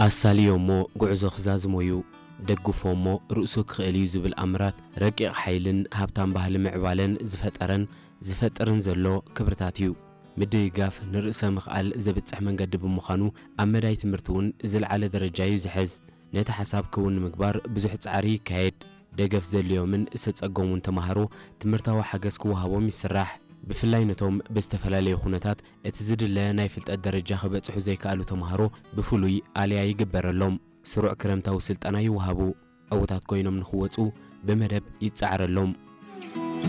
ኣሳልዮ እሞ ጉዕዞ ክዛዝሞ እዩ፣ ደግፎ እሞ ርእሱ ክኽእል እዩ ዝብል ኣምራት ረቂቕ ሓይልን ሃብታም ባህሊ ምዕባለን ዝፈጠረን ዝፈጥርን ዘሎ ክብርታት እዩ። ምድግጋፍ ንርእሰ ምኽኣል ዘብጽሕ መንገዲ ብምዃኑ ኣብ መዳይ ትምህርቲ እውን ዝለዓለ ደረጃ እዩ ዝሕዝ። ነቲ ሓሳብ ክውን ንምግባር ብዙሕ ጻዕሪ ይካየድ። ደገፍ ዘድልዮምን ዝተጸገሙን ተማሃሮ ትምህርታዊ ሓገዝ ክወሃቦም ይስራሕ። ብፍላይ ነቶም ብዝተፈላለየ ኩነታት እቲ ዝድለ ናይ ፍልጠት ደረጃ ክበጽሑ ዘይከኣሉ ተማሃሮ ብፍሉይ ኣልያ ይግበረሎም። ስሩዕ ክረምታዊ ስልጠና ይወሃቡ። ዕዉታት ኮይኖም ንኽወጹ ብመደብ ይጸዓረሎም።